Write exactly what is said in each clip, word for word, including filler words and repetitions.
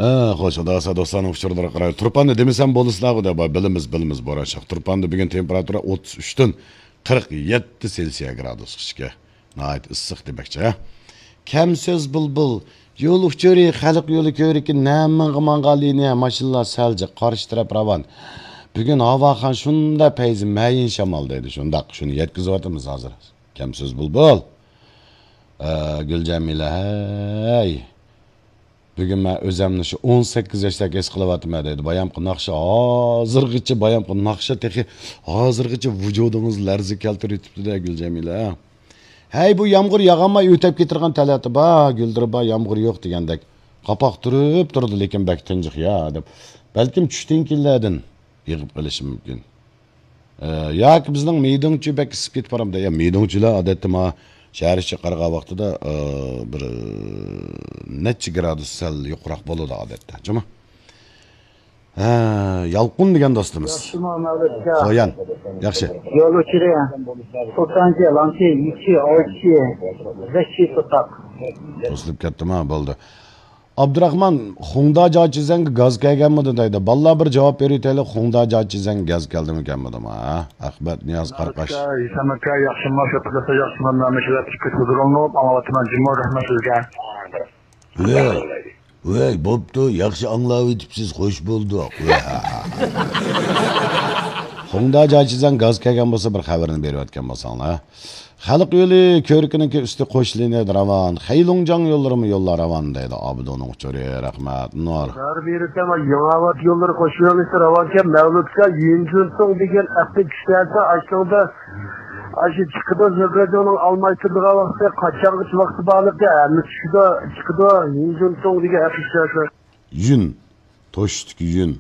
ھە، خوش، خۇدا خالىسا دوستلارنىڭ ئۇچۇرلىرىغا قارايلى. تۇرپاندا دېمىسەم بولىسىلەرغۇ دەپ، بىلىمىز، بىلىمىز، بوران شاخ. تۇرپاندا بۈگۈن تېمپېراتۇرا ئوتتۇز ئۈچتىن قىرىق يەتتە سېلسىيە گرادۇسقىچە. ناھايىتى ئىسسىق دېمەكچى، ھە؟ كەم سۆز بۇلبۇل. يول ئۇچۇرى، خەلق يولى كۆۋرۈكى، نەمىڭغا ماڭغان لىنىيە، ماشىنىلار سەل جىق، قارشى تەرەپ راۋان. بۈگۈن ھاۋاخان شۇنداق پەيزى مەيىن شامال دەيدۇ. شۇنداق، شۇنى يەتكۈزۈۋاتىمىز ھازىر. كەم سۆز بۇلبۇل. ئە، گۈلجەمىلە، ھەي. بۈگۈن مەن ئۆزەمنى شۇ ئون سەككىز ياشتەك ھېس قىلىۋاتىمەن دەيدۇ. بايامقى ناخشا ھازىرغىچە، بايامقى ناخشا تېخى ھازىرغىچە ۋۇجۇدىڭىزنى لەرزىگە كەلتۈرۈۋېتىپتۇ-دە، گۈلجەمىلە. ھەي، بۇ يامغۇر ياغالماي ئۆتەپ كېتىدىغان تەلەتى بار، گۈلدۈرى بار، يامغۇر يوق دېگەندەك. قاپاق تۇرۇپ تۇرىدۇ، لېكىن بەك تىنجىق يا، دەپ. بەلكىم چۈشتىن كېيىنلەردىن يېغىپ قېلىشى مۇمكىن. ئە، ياكى بىزنىڭ مىدىڭچۇ بەك ئىسسىپ كېتىپ بارامدۇ؟ يا، مىدىڭچۇلار ئادەتتە ما شەھەر ئىچىگە قارىغان ۋاقتىدا، ئە، بىر، ئە، نەچچە گرادۇس سەل يۇقىرىراق بولىدۇ ئادەتتە، جۇمۇ. ھە، يالقۇن دېگەن دوستىمىز. ياخشىمۇ مەۋلۇت ئاكا؟ سويان. ياخشى. يول ئۇچۇرى، سۇلتانچى، لانچى، يىكچى، ئاۋچى، بەشچى، تۇتاق. توسۇلۇپ كەتتىما، بولدى. ئابدۇراخمان، خۇڭدا جاچىزەنگە گاز كەلگەنمىدى دەيدۇ. بالىلار بىر جاۋاب بېرىۋېتەيلى، خۇڭدا جاچىزەنگە گاز كەلدىمۇ كەلمىدىمۇ، ھە؟ ئەخمەت نىياز قاراقاش. ئاكا، ھېسام ئاكا، ياخشىمۇ، شۇ قىلسا ياخشىمۇ، مەن مۇشۇ ۋاقىتتا كۆپ ھۇزۇرلىنىپ ئاڭلاۋاتىمەن، جۇمۇ، رەھمەت سىزگە. ۋەي، ۋەي، بوپتۇ، ياخشى ئاڭلاۋېتىپسىز، خوش بولدۇق. ۋەي، ھە، ھە، ھە. خۇڭدا جاچىزەن گاز كەلگەن بولسا، بىر خەۋىرىنى بېرىۋەتكەن بولساڭلار. خەلق يولى كۆۋرۈكىنىڭكى ئۈستى قوش لىنىيەدە راۋان، خەيلۇڭجاڭ يوللىرىمۇ يوللار راۋان دەيدۇ ئابىدۇنىڭ ئۇچۇرى، رەھمەت، نۇر. بەرىبىرى تەڭ يېڭىئاۋات يوللىرى قوش يۆنىلىشى راۋانكەن، مەۋلۇتكە يۈنجۈنتۇڭ دېگەن ئەپنى چۈشەرسە، ئاشۇنىڭدا، ئاشۇ چىقىدۇ، زۆگەجۇنىڭ ئالماي تۇرىدىغان ۋاقتى، قاچانغىچە ۋاقتى بارلىقى، ھەممە چۈشىدۇ، چىقىدۇ، يۈنجۈنتۇڭ دېگەن ئەپنى چۈشەرسە. يۈن، توشتىكى يۈن،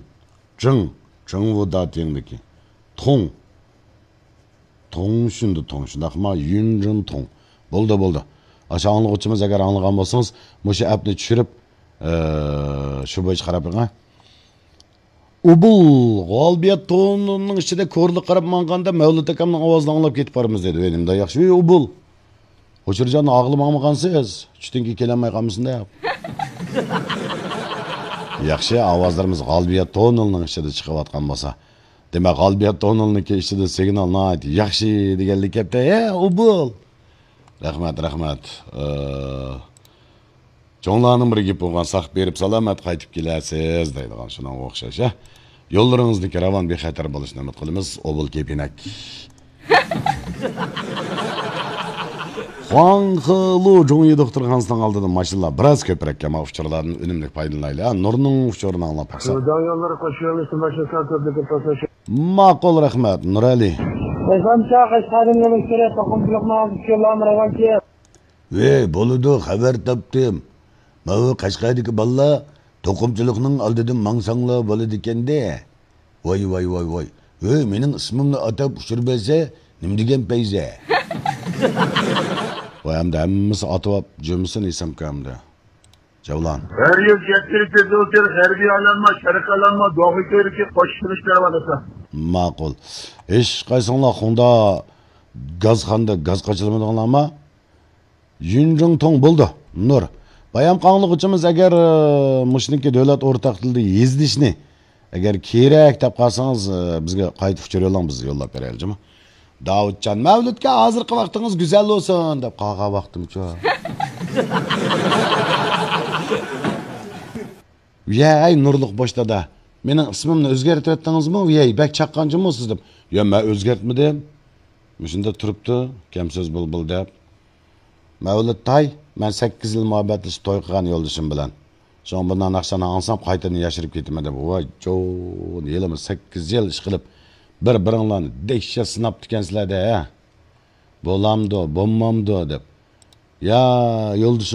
جىڭ، جىڭۋۇدا تىڭدىكى، تۇڭ. توڭ شۇندى، توڭ شۇنداقما؟ يۈنجىن توڭ. بولدى، بولدى. ئاشۇ ئاڭلىغۇچىمىز ئەگەر ئاڭلىغان بولسىڭىز، مۇشۇ ئەپنى چۈشۈرۈپ، ئى، شۇ بويىچە قاراپ بېقىڭ. ئۇبۇل، غالبىيە توننىنىڭ ئىچىدە كورلا قاراپ ماڭغاندا مەۋلۇت ئاكامنىڭ ئاۋازىنى ئاڭلاپ كېتىپ بارىمىز دېدى. ۋەي، نېمىنداق ياخشى. ۋەي، ئۇبۇل. ھوشۇرجان ئاغلىماڭمىغانسىز؟ چۈشتىن كېيىن كېلەلمەي قالمىسۇن دەپ. ياخشى، ئاۋازلىرىمىز غالبىيە توننىنىڭ ئىچىدە چىقىۋاتقان بولسا. دېمەك، غالبىيە توننىلنىڭكى ئىچىدە سىگنال ناھايىتى ياخشى دېگەنلىك كەپتە. ھە، ئۇبۇل! رەھمەت، رەھمەت. ئى، چوڭلارنىڭ بىر گېپى بولغان، ساق بېرىپ سالامەت قايتىپ كېلەرسىز دەيدىغان، شۇنىڭغا ئوخشاش، ھە. يوللىرىڭىزدىكى راۋان، بىخەتەر بولۇشىنى ئۈمىد قىلىمىز. ئۇبۇل كېپىنەك. خۇاڭخېلۇ جۇڭيى دوختۇرخانىسىنىڭ ئالدىدا ماشىنىلار بىراز كۆپرەككەن، مانا ئۇچۇرلاردىن ئۈنۈملۈك پايدىلىنايلى، ھە. نۇرنىڭ ئۇچۇرىنى ئاڭلاپ باقساق. شىنجاڭ يوللىرى قوش يۆنىلىشى ماشىنا كۆپلۈكى توسۇش. ماقۇل، رەھمەت، نۇرئەلى. ئېسەنچە قەشقەردىن يول ئۈستىدە توقۇمىچىلىقنىڭ ئالدى چۈشكەنلەرمۇ راۋانكى. ۋەي، بولىدۇ، خەۋەر تاپتىم. ماۋۇ قەشقەردىكى بالىلار توقۇمىچىلىقنىڭ ئالدىدىن ماڭساڭلار بولىدىكەندە. ۋاي، ۋاي، ۋاي، ۋاي. ھۆي، مېنىڭ ئىسمىمنى ئاتاپ ئۇچۇر بەرسە، نېمە دېگەن پەيزى؟ ۋاي، ئەمدى ھەممىسى ئاتىۋاپ جۈمىسىنى ئېسەمكە ئەمدى. جەۋلان. ھەر يىل جەتتىرىكى زۇلتىر، غەربىي ئالانما، شەرقىي ئالانما، دوغا كۆۋرۈكى قوشۇلۇش كەرۋانىسى. ماقۇل. ھېچقايسىڭلار خۇڭدا گازخانىدا گاز قاچىلىمىدىڭلارما؟ يۈنجىڭتۇڭ بولدى. نۇر. بايام قاڭلىغۇچىمىز ئەگەر، ئى، مۇشۇنىڭكى دۆلەت ئورتاق تىلىدا يېزىلىشنى ئەگەر كېرەك دەپ قالسىڭىز، ئى، بىزگە قايتا ئۇچۇر يوللاڭ، بىز يوللاپ بېرەيلى جۇمۇ. داۋۇتجان، مەۋلۇتكە ھازىرقى ۋاقتىڭىز گۈزەل بولسۇن دەپ قالغان ۋاقتىمچۇ؟ ۋىيەي، نۇرلۇق بوش دادا. مېنىڭ ئىسمىمنى ئۆزگەرتىۋەتتىڭىزمۇ؟ ۋىيەي، بەك چاققانچىمۇ سىز دەپ. يا، مەن ئۆزگەرتمىدىم. مۇشۇنداق تۇرۇپتۇ، كەم سۆز بۇلبۇل دەپ. مەۋلۇت تاي، مەن سەككىز يىل مۇھەببەتلىشىپ توي قىلغان يولدىشىم بىلەن. شۇڭا بۇنداق ناخشىلارنى ئاڭلىسام قايتىدىن ياشىرىپ كېتىمەن دەپ. ۋاي جون، ھېلىمۇ سەككىز يىل ئىشقىلىپ بىر بىرىڭلارنى دەھشەت سىناپتىكەنسىلەر دە، ھە. بولامدۇ، بولمامدۇ دەپ. يا يولدىشىم